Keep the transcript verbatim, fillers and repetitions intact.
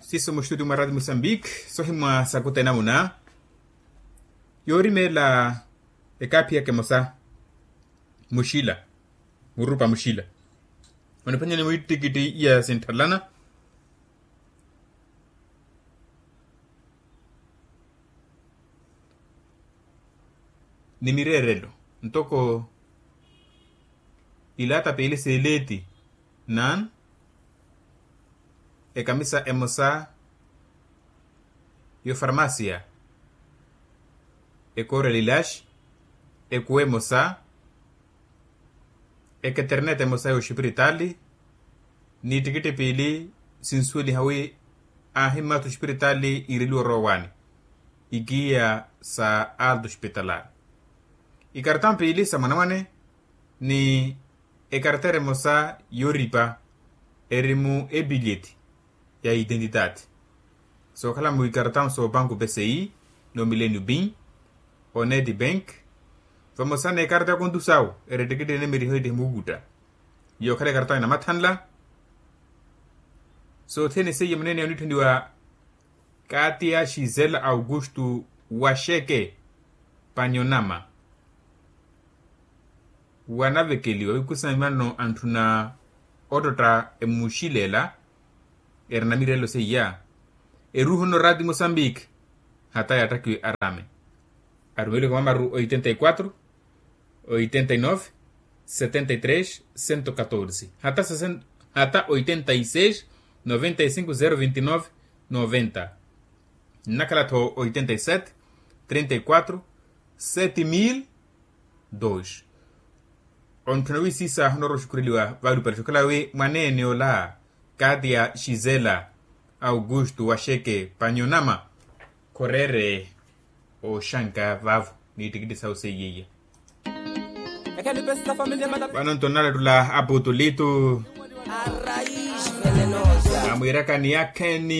Siiso muxituti mwa rati musambiki sohimwa sakuta enamuna yoorimeela ekaaphiyaka emosa muxila murupa muxila oniphwanyani mwiittikiti iya sintthalana ni mireerelo ntoko ilaata piili seeleeti nan ekamisa emosa y'ofarmasiya ekoorela ilaxi ekuwa emosa eketernete emosa y'oxipiritaali n'ittikitti piili sinsuweliha wi aahimmata oxipiritaali iireliwa orowani ikiya sa alto ospitalar ikartão piili sa mwanamwane ni ekartera emosa yooripa eri mu epilyeti ya identidade sookhala mu ikartão soopanku pci no millenio bin oneti bank vamosa n'ekarta ya kontusawu eri ettikittiene miriho ettihi muukutta yookhala ekartão ya namathanla sothene seiye muneene ya onitthuniwa kaati ya xisela augusto wa xeke panyonama wanavekeliwa wikusa mimano antthuna ottotta emuxilela erina mireelo seiya eruuhu nno rati musambiki hata yaattakhiwe arame arumeliwe ka mamaru oitenta y quatro oitenta y nove setenta y tres cento catorze hata oitenta y seis noventa y cinco zero vinte y nove noventa nnakhala-tho oitenta y sete trinta y quatro sete mil dois ontthuna wi siisa onoorowa oxukureliwa valupale xokhala wi mwaneene ola kaati ya xisela augusto wa xeke panyonama khoreere oxanka vaavo n'ittikitti sawu seiye iya vano nto nnalettula aputulito amwiirakani yakheni